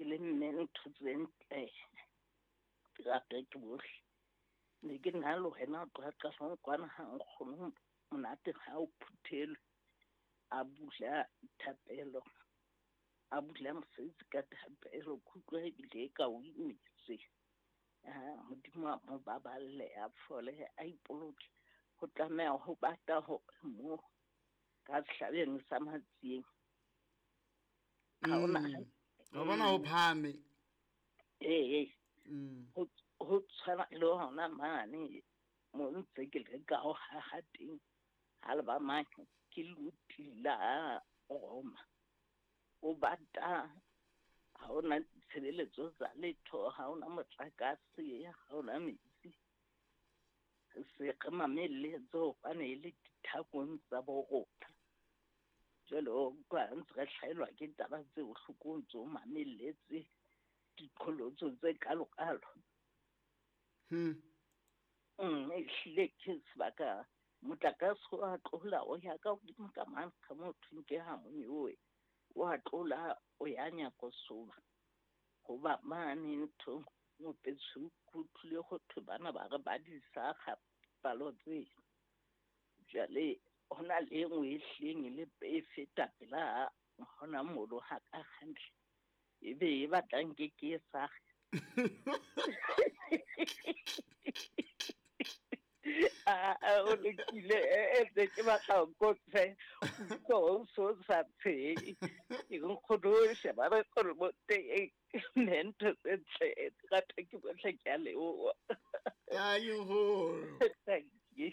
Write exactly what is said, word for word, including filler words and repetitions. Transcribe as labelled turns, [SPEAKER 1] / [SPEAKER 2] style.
[SPEAKER 1] Ke le mme ntho tse ntle. Ke rata ke bohle. Ne ke na le wena o tloha qalong kwana ha nkgono monate ha o phuthelwe. A bula thapelo. A bula mosebetsi ka thapelo. Ke utlwa ebile e ka o imetswe. Ah, Modimo a mo baballe, a fole, a ipoloke. Ho tlameha ho bata hore mo ka sehlabeng sa Matsieng. Ha hona
[SPEAKER 2] Mm. Wa bona ho phahame.
[SPEAKER 1] Ee.
[SPEAKER 2] Mm.
[SPEAKER 1] Ho ho tshwana le hona mane mo ntse ke leka ho haha teng. Ha le ba mane ke luti la Roma. O bata ha hona tshebeletso tsa letho, ha hona motlakase, ha hona metsi. Se re mamelletse hobane e le dithakong tsa bo rona. Jwale o utlwa ntse re hlahelwa ke taba tse bohloko o ntso mamelletse diqholotso tse kalo-kalo.
[SPEAKER 2] Hmm.
[SPEAKER 1] Mm, ehlile ke sebaka motlakase wa tlola o ya ka hodimo ka mane ka mo thweng ke ha monyowe. Wa tlola o ya Nyakosoba. Hoba mane nthong Mopetshu ke utlwile ho thwe bana ba re ba di sakga palo tse. Jwale ho na le e nngwe e hlileng e le e feta pela hona mono ha ka hantle. Ebe e batlang ke ke e sakge. Ah, ah, o lokile, eh, eh, ntse ke batla ho kotse, utlwa o so sa tshehe. Ke nkgono o sheba re gore mo teng, ne ntho tse ntle, di rata ke bohle, ke a leboha.
[SPEAKER 2] Thank you, nkgono.
[SPEAKER 1] Thank you.